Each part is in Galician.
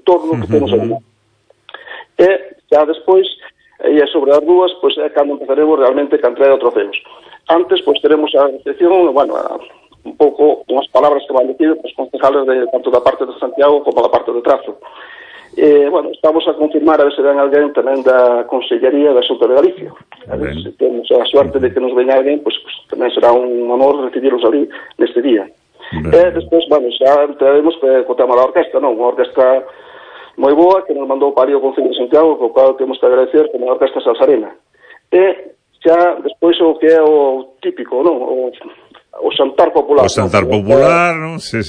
entorno que temos ali. E xa despois, e sobre as dúas, pois é cando empezaremos realmente a entrega de trofeos. Antes, pois teremos a recepción, un pouco unhas palabras que van dicir os concejales tanto da parte de Santiago como da parte de Trazo. Estamos a confirmar a ver se ven alguén tamén da Consellería da Xunta de Galicia. A ver se temos a suerte de que nos veña alguén, pois tamén será un honor recibirlos ali neste día. Despois, xa entraremos co tema da orquesta, non? Unha orquesta moi boa que nos mandou para o Concello de Santiago, co cual temos que agradecer como a Orquesta Salsarena. E xa despois o que é o típico, non? O xantar popular. O xantar popular, non? Sí.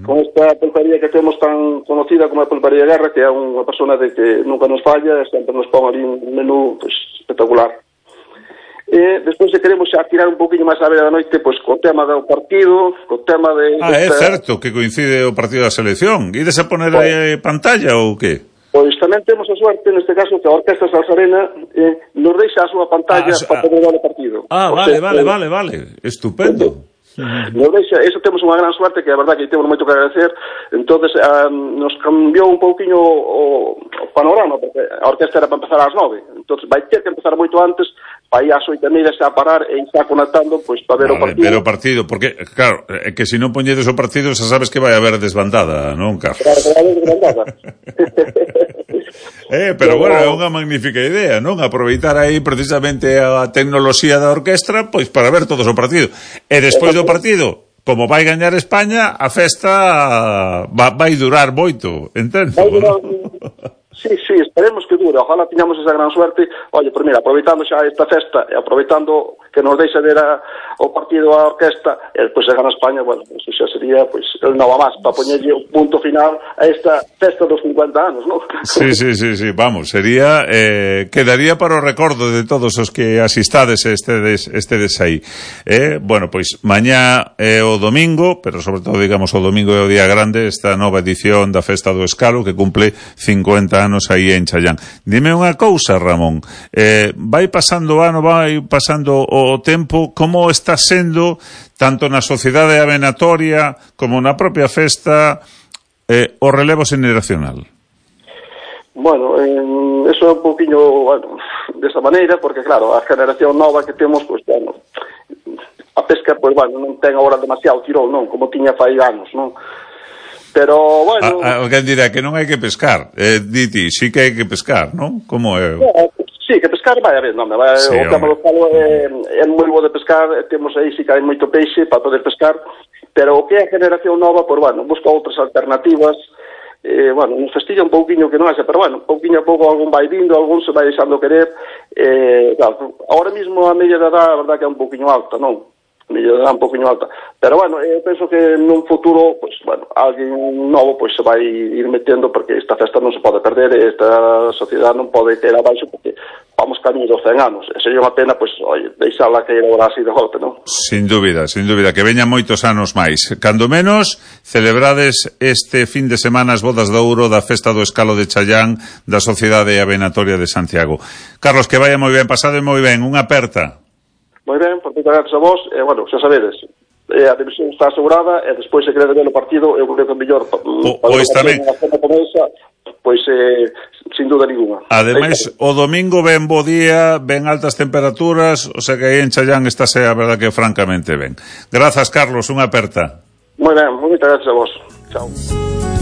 Con esta pulparía que temos tan conocida como a Pulparía Guerra, que é unha persona de que nunca nos falla, sempre nos pon ali un menú espectacular. E despois queremos xa tirar un poquinho máis a beira da noite, pois co tema do partido, co tema de... é certo que coincide o partido da selección. Ides a poner aí pantalla ou que? Pois tamén temos a suerte, neste caso, que a Orquesta Salsarena nos deixa a súa pantalla para poder ver o partido. Vale. Estupendo. Nos deixa, eso temos unha gran suerte, que a verdade que temos moito que agradecer. Entonces nos cambiou un pouquiño o panorama, porque a orquesta era para empezar ás 9, entonces vai ter que empezar moito antes, para ir ás 8:30 xa a parar e xa conectando, pois para ver o partido. Ver o partido, porque, claro, que se non poñedes o partido, xa sabes que vai haber desbandada, non, Carlos? Claro, vai haber desbandada. Pero é unha magnífica idea, non? Aproveitar aí precisamente a tecnoloxía da orquestra, pois para ver todos o partido. E despois do partido, como vai gañar España, a festa vai durar moito, entendo? Vai durar, sí, esperemos que dure, ojalá tiñamos esa gran suerte. Oye, pues mira, aproveitando xa esta festa e aproveitando que nos deixa ver o partido a orquesta, e despois se gana España, eso xa sería el nova máis, para poñerlle un punto final a esta festa dos 50 anos, non? Sí, vamos, sería quedaría para o recordo de todos os que asistades estedes aí. Pois mañá é o domingo, pero sobre todo, digamos, o domingo é o día grande, esta nova edición da Festa do Escalo, que cumple 50 anos aí en Challán. Dime unha cousa, Ramón, vai pasando o ano, vai pasando o tempo, como está sendo tanto na sociedade avenatoria como na propia festa o relevo xeneracional? Bueno, eso é un poquinho desa maneira, porque claro, a generación nova que temos, a pesca, non ten agora demasiado tirón, non? Como tiña fai anos, non? Pero, alguén dirá que non hai que pescar. Diti, sí que hai que pescar, non? Como é? Sí, que pescar vai haber, non? O tema do calo é moi bo de pescar, temos aí, sí que hai moito peixe para poder pescar, pero o que é a generación nova, busca outras alternativas. Nos festilla un pouquiño que non haxa, pero pouquiño a pouco algún vai vindo, algún se vai deixando querer. Ahora mismo a media de edad, a verdad que é un pouquiño alta, non? Un poquinho alta, pero eu penso que nun futuro, alguén novo se vai ir metendo, porque esta festa non se pode perder, esta sociedade non pode caer abaixo, porque vamos camiño dos 100 anos, e sería unha pena, deixala caer agora así de golpe, non? Sin dúbida, que veñan moitos anos máis. Cando menos, celebrades este fin de semana as bodas de ouro da Festa do Escalo de Challán da Sociedade Avenatoria de Santiago. Carlos, que vaya moi ben, pasade moi ben, unha aperta. Moi ben, por moitas gracias a vos, xa sabedes, a división está asegurada, e despois se queredes ver o partido, eu creo que é mellor pois tamén, sin duda ninguna. Ademais, o domingo ven bo día, ven altas temperaturas, o sea que aí en Challán estáse a verdad que francamente ben. Grazas, Carlos, unha aperta. Moi ben, moitas gracias a vos. Chao.